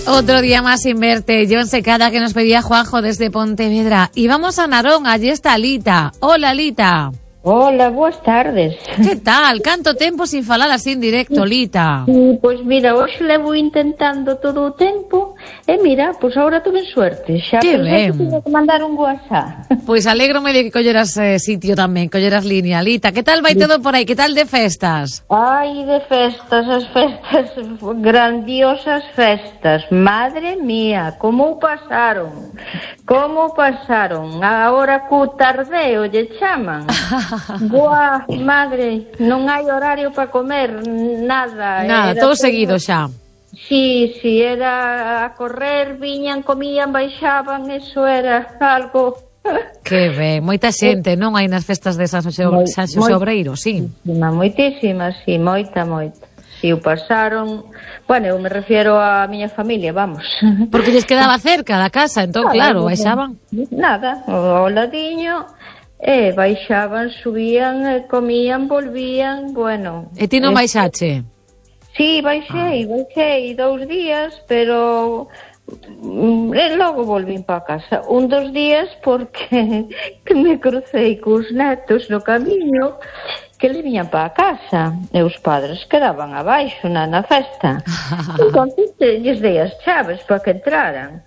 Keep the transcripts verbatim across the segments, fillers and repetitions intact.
Otro día más sin verte. John Secada, que nos pedía Juanjo desde Pontevedra. Y vamos a Narón, allí está Lita. Hola, Lita. Hola, boas tardes. Que tal? Canto tempo sin falar así en directo, Lita? Sí, pois mira, hoxe levo intentando todo o tempo e mira, pois agora tuve suerte. Xa que pensei ben. que tiña que mandar un WhatsApp. Pois alégrome de que colleras eh, sitio tamén, colleras línea. Lita, que tal vai todo por aí? Que tal de festas? Ai, de festas, as festas, grandiosas festas. Madre mía, como o pasaron? Como o pasaron? Agora cu tardeo lle chaman. Boa, madre, non hai horario para comer, nada. Nada, todo seguido xa. Sí, sí, era a correr, viñan, comían, baixaban, eso era algo... Que ben, moita xente, non hai nas festas de San Xosé, Moi, San Xosé Obreiro, sí. Moitísima, moitísima, sí, moita, moita. Si o pasaron, bueno, eu me refiero á miña familia, vamos. Porque lles quedaba cerca da casa, entón, claro, baixaban. Nada, ao ladiño... E baixaban, subían, comían, volvían, bueno... E ti non baixache? Sí, baixei, ah. baixei dous días, pero e logo volvín para casa. Un dos días porque que me crucei cos netos no camiño que le viñan para casa e os padres quedaban abaixo na, na festa. Entón, lles dei as chaves para que entraran.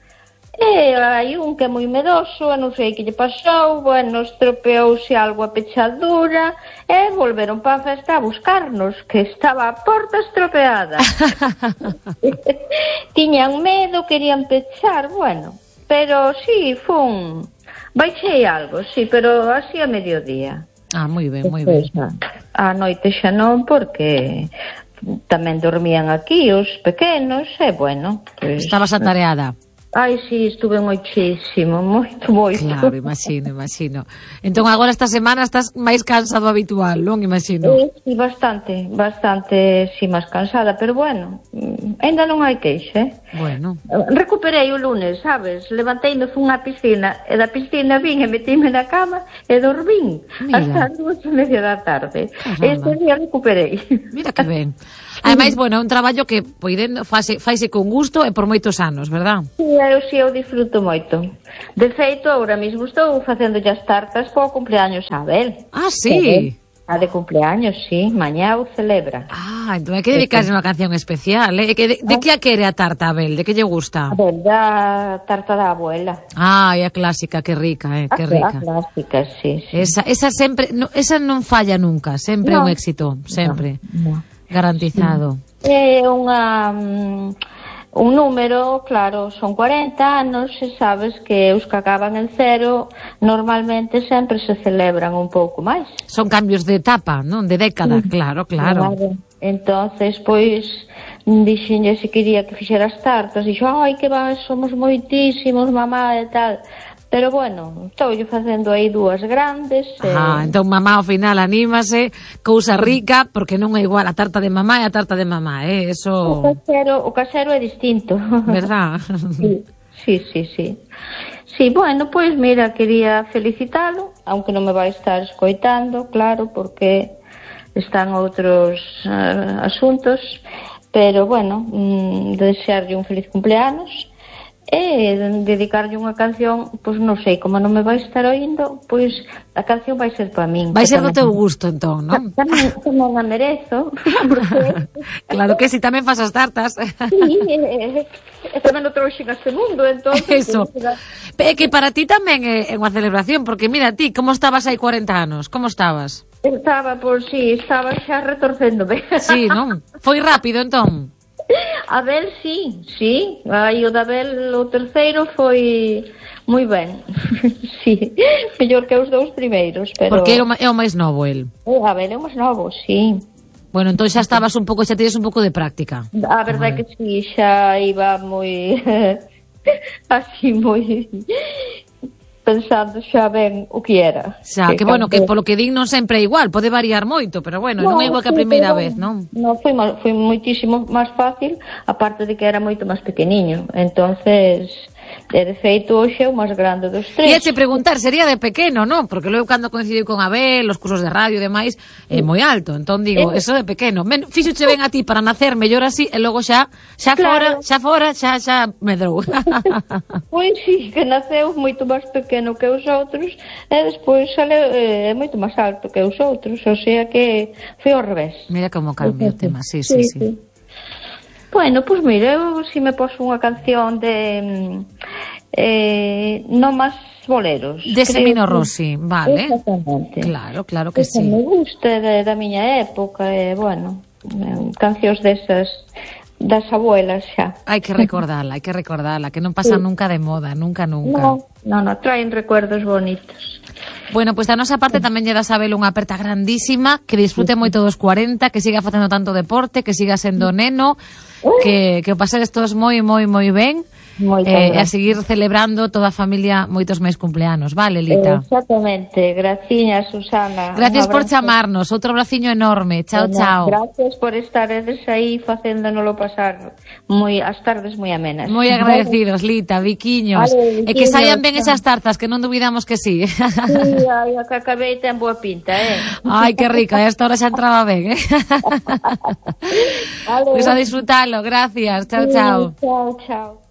E hai un que é moi medoso, non sei que lle pasou, bueno, estropeouse algo a pechadura, e volveron para a festa a buscarnos, que estaba a porta estropeada. Tiñan medo, querían pechar, bueno, pero sí, fun... Baixei algo, sí, pero así a mediodía. Ah, moi ben, moi ben. A noite xa non, porque tamén dormían aquí os pequenos, e bueno... Pues, estabas atareada. Ai, sí, estuve moitísimo, moito, moito. Claro, imagino, imagino. Entón, agora esta semana estás máis cansado habitual, non? Imagino. Sí, sí, bastante, bastante, sí, máis cansada, pero bueno, ainda non hai queixa, eh? Bueno. Recuperei o lunes, sabes? Levanteime, fun á piscina, e da piscina vin e metíme na cama e dormín hasta as dúas e media da tarde. Este día recuperei. Mira que ben. Ademais, bueno, é un traballo que poidendo faise, faise con gusto e por moitos anos, verdad? Sí, eu si, eu disfruto moito. De feito, agora mesmo estou facendo as tartas para o cumpleaños a Abel. Ah, sí? A de cumpleaños, sí, mañá o celebra. Ah, entón hai que dedicarse unha canción especial, eh? De, de que a quere a tarta, Abel? De que lle gusta? A ver, da tarta da abuela. Ah, é a clásica, que rica, eh? Que rica. A clásica, sí, sí. Esa, esa sempre, no, esa non falla nunca, sempre é no. un éxito, sempre. No, no. Garantizado. É unha um, un número, claro, son cuarenta anos e sabes que os que acaban en cero normalmente sempre se celebran un pouco máis. Son cambios de etapa, non? De década, sí. Claro, claro. Claro. Entonces, pois dixenlle se quería que fixera as tartas, dixo, ai, que va, somos moitísimos, mamá e tal. Pero bueno, estou yo facendo aí dúas grandes. Ah, eh... entón mamá ao final anímase, cousa rica, porque non é igual a tarta de mamá e a tarta de mamá, eh? Eso... O casero, o casero é distinto. Verdad? Sí, sí, sí, sí. Sí, bueno, pois pues mira, quería felicitalo, aunque non me vai estar escoitando, claro, porque están outros uh, asuntos, pero bueno, mm, desearlle un feliz cumpleanos. E dedicarlle unha canción, pois non sei, como non me vai estar oindo, pois a canción vai ser para min. Vai ser do teu gusto, entón, non? Tamén, tamén a merezo. Porque... Claro que si, tamén fas as tartas. Sí, e, e tamén o trouxen a este mundo, entón... Eso. É que para ti tamén é unha celebración, porque mira ti, como estabas hai cuarenta anos? Como estabas? Estaba, pois sí, estaba xa retorcéndome. Sí, non? Foi rápido, entón? Abel, sí, sí. Aí o de Abel, o terceiro, foi moi ben. Sí, mellor que os dous primeiros, pero... Porque é o, é o máis novo, el. O Abel é o máis novo, sí. Bueno, entón xa estabas un pouco, xa tides un pouco de práctica. A verdade é que sí, xa iba moi... así, moi... pensando xa ben o que era. Xa, que, que bueno, que polo que din non sempre é igual, pode variar moito, pero bueno, no, non é igual que a primeira vez, non? Non, foi, foi moitísimo máis fácil, aparte de que era moito máis pequeniño. Entonces, E de feito hoxe é o máis grande dos tres. E che preguntar, sería de pequeno, non? Porque logo cando coincidiu con Abel, os cursos de radio e demais, é moi alto. Entón digo, eso de pequeno. Men, fíxoche ben a ti para nacer mellor así e logo xa, xa Claro. fora, xa fora, xa, xa medrou. Pois sí, que naceu moito máis pequeno que os outros e despois sale é moito máis alto que os outros, o sea que foi ao revés. Mira como cambia o tema, sí, sí, sí. sí. Bueno, pois pues mira, eu si me poso unha canción de eh, non máis boleros. De Semino Rossi, vale. Exactamente. Claro, claro que Esa sí. me gusta de, da miña época, e, bueno, eh, cancións desas das abuelas xa. Hai que recordarla, hai que recordarla, que non pasa sí. nunca de moda, nunca, nunca. No, no, no, traen recuerdos bonitos. Bueno, pois pues, da nosa parte tamén lle das a Abel unha aperta grandísima, que disfrute moito dos cuarenta, que siga facendo tanto deporte, que siga sendo neno, que, que o pasedes todos moi, moi, moi ben, eh, e a seguir celebrando toda a familia moitos máis cumpleanos, vale, Lita? Exactamente, graciña, Susana. Gracias por chamarnos, outro braciño enorme, chao, bueno, chao. Gracias por estaredes aí facéndonoslo pasar moi as tardes moi amenas. Moi agradecidos, Lita, biquiños, vale, biquiños, e que saian ben esas tartas, que non dubidamos que sí. Sí, ai, a que acabei ten boa pinta, eh? Ai, que rica, a esta hora xa entraba ben, eh? Vale. Pois a disfrutalo, gracias, chao, sí, chao. Chao, chao.